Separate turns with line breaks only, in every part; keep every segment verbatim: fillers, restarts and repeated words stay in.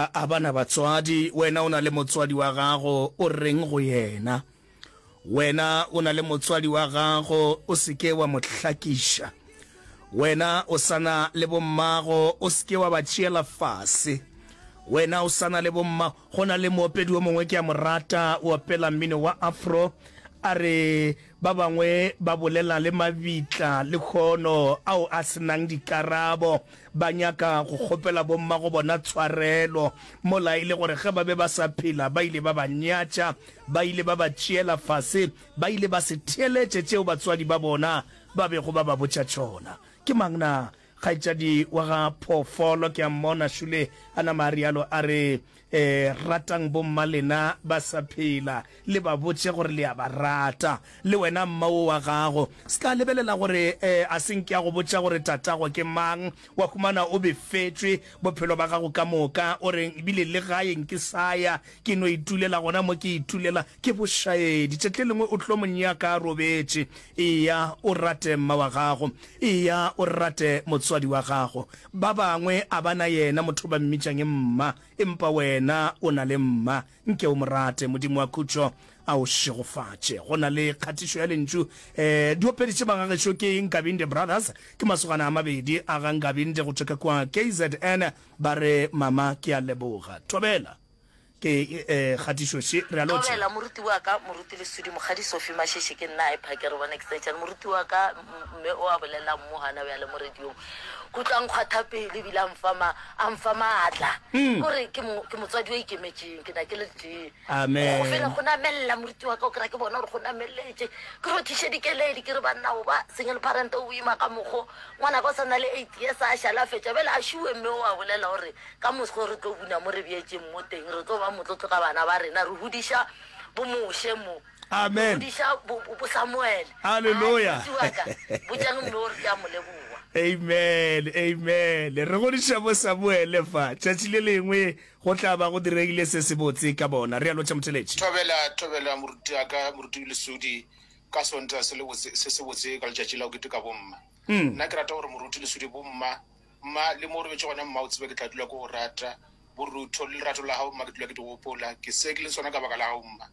A ba na batswadi, wena o na le motswadi wa gago, o reng go yena? Wena o na le motswadi wa gago, o se ke wa mo hlakiša. Wena o sa na le bommago, o se ke wa ba tšeela fase. Wena o sa na le bomma, go na le moopedi o mongwe ke a mo rata, o opela mmino wa afro, a re ba bangwe ba bolela le mabitla lehono ao a se nang dikarabo, Ba nyaka go kgopela bommago bona tshwarelo, mola e le gore ge ba be ba sa phela ba ile ba ba nyatša, ba ile ba ba tšeela fase, ba ile ba se theeletše tšeo batswadi ba bona ba bego ba ba botša tšona. Ke mang na? Kgaetšadi wa ga Phoofolo, ke a mmona šule a nama a realo a re, E, ratang bomma lena ba sa phela, le ba botše gore le a ba rata. Le wena mma wo wa gago, se ka lebelela gore e, a se nke a go botša gore tatago ke mang, wa humana o befetšwe bophelo ba gago ka moka, o re ebile le gae nke sa ya, ke no itulela gona mo ke itulela. Ke bošaedi. Tšatši le lengwe o tlo mo nyaka a robetše. Eya o rate mma wa gago. Eya o rate motswadi wa gago. Ba bangwe a ba na yena motho ba mmitšang mma, empa wena o na le mma. Nke o mo rate. Modimo wa khutšo a o šegofatše. Go na le kgatišo ya lentšu eh, diopedi tše magagešo ke Nkabinde Brothers, ke masogana a mabedi a ga Nkabinde go tšwa ka kua K Z N, ba re mama ke a leboga. Thobela. Ke eh, kgatišo še, re a lotšha.
Thobela, moruti wa ka, Moruti Lesudi, Mokgadi Sophie Masheshe, ke nna Hyper, ke re bona extension. Moruti wa ka, mme o a bolelang mo gana bjale mo radiong. Ke utlwa a nkgwatha pelo ebile a mfa ma, a mfa maatla. Ke gore ke mo, ke motswadi o ikemetšeng, ke na ke le tee.
Amen.
Go fela go namelela moruti wa ka, o kry-a ke bona gore go nameletše. Ke rothiše dikeledi, ke re banna o ba single parent o boima ka mokgo. Ngwanaka o sa na le eight years a šale a fetša, bjale a šuwe mme o a bolela gore Ka moso re tlo buna mo re bjetšeng mo teng, re tlo ba motlotlo ka bana ba rena, re hudiša bo Moshe mo, re
Amen.
hudiša bo, bo, bo Samuele. Ai,
Haleluya.
moruti wa ka, botšang mme o re ke a mo leboga.
Amen, amen. Re godiša bo Samuele fa. Tšatši le lengwe go tla ba go diregile se sebotse ka bona. Re a lotšha motheletši.
Thobela, thobela moruti wa ka, moruti Lesudi, ka Sontaga se lebotse, se sebotse ka letšatši la go keteka bomma. Nna ke rata gore moruti Lesudi bomma Mma, le mo o robetše gona, mma, o tsebe ke tla dula ke go rata. Borutho le lerato la gago, mma, ke dula ke di gopola. Ke se ke leng sona ka baka la gago, mma.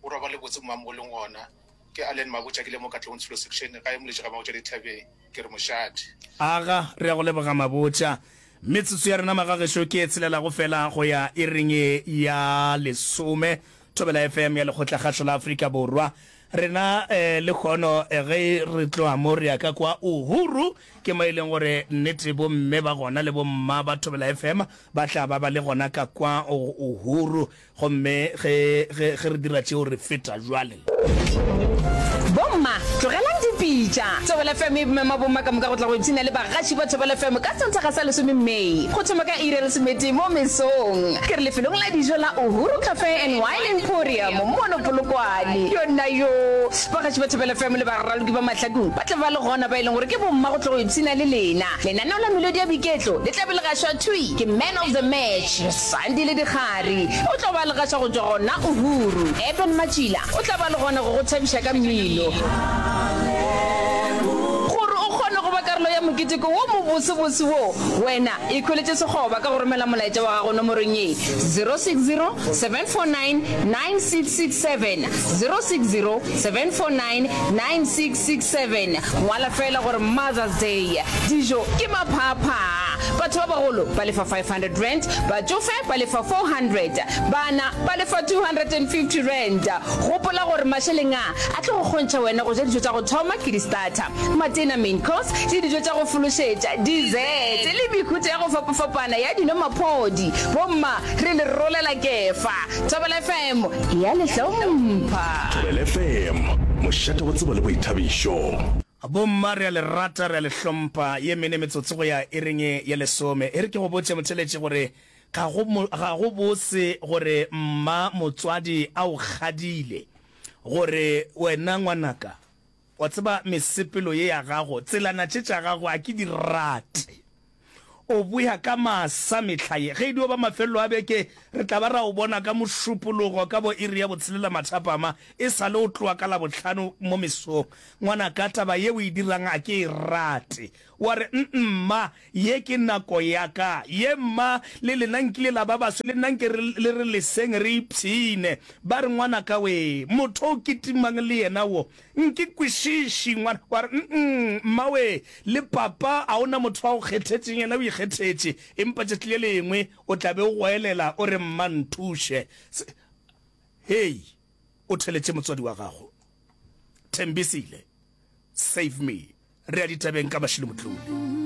O robale botse, mma, mo o leng gona. Ke Allen Mabotja, ke le mo Katlehong Tsholo Section, gae Moletši ga Mabotja Dithabeng. Ke re mošate.
Aga, re a go leboga Mabotja. Metsotso ya rena magagešo ke e tshelelago fela go ya iring ya lesome. Thobela F M ya Lekgotlakgašo la Afrika Borwa. Rena eh, lehono eh, ge re tloga mo re ya ka kwa Uhuru, ke mo e leng gore nnete bomme ba gona le bomma ba Thobela F M ba tla ba ba le gona ka kwa Uhuru. Gomme ge, ge, ge re dira tšeo re feta jwale.
Bomma, tlogelang dipitša! Thobela F M e mema bomma ka moka go tla go ipshina le bagaši ba Thobela F M ka Sontaga sa lesome May, go thoma ka iri ya lesometee mo mesong. Ke re lefelong la dijo la Uhuru Cafe and Wine Emporium mono Polokwane. Yona yo! Bagaši ba Thobela F M le baraloki ba mahlakong ba tla ba le gona ba e leng gore ke bomma go tla go ipshina le lena. Lenaneo la melodi ya boiketlo le tla be le gašwa thwi ke Man of the Match, Sandile Dikgari. O tlo ba le gaša go tšwa gona Uhuru. Eben Matšila o tla ba le gona go go thabiša ka mmino. Gore o kgone go ba karolo ya moketeko wo mobosebose wo, wena ikhweletše sekgoba ka go romela molaetša wa gago nomorong ye, zero six zero, seven four nine, nine six six seven, zero six zero, seven four nine, nine six six seven. Ngwala feela gore Mother's Day. Dijo ke maphaaphaa. Batho ba bagolo ba lefa five hundred rand, batšofe ba lefa four hundred, bana ba lefa two hundred and fifty rand. Gopola gore mašeleng a a tlo go kgontšha wena go ja dijo tša go thoma ke di-starter, matena, main course, le dijo tša go fološetša, dessert, le mehuta ya go fapafapana ya dino maphodi. Bomma, re le rolela kefa. Thobela F M e a le hlompha.
Thobela F M, mošate wa tsebo le boithabišo.
Bomma, re a le rata, re a le hlompha. Ye mene metsotso go ya iring ya lesome. E re ke go botše, motheeletši, gore ga go, ga go bose gore mma motswadi a o kgadile, gore wena ngwanaka, wa tseba mesepelo ye ya gago, tselana tše tša gago a ke di rate. O boya ka masa mehla ye. Ge e dio ba mafelelo a beke, re tla ba ra o bona ka Mošupologo ka bo iri ya botshelela mathapama, e sa le o tloga ka Labohlano mo mesong. Ngwanaka, taba ye o e dirang a ke e rate. Wa re, Mma, ye ke nako ya ka. Ye, mma, le lena nkile la ba baswe, le nna nke re, le re leseng re ipshine. Ba re, Ngwanaka wee, motho o kitimang le yena wo, Nke kwešiši, ngwana. Wa re, Mm-mm, mma wee, le papa a o na motho a go kgethetšeng, yena o ikgethetše. Empa tšatši le lengwe o tla be o goelela o re, Mma, nthuše. Se, hei, o theletše motswadi wa gago. Thembisile, save me. Re ya ditabeng ka Mashilo Motlole.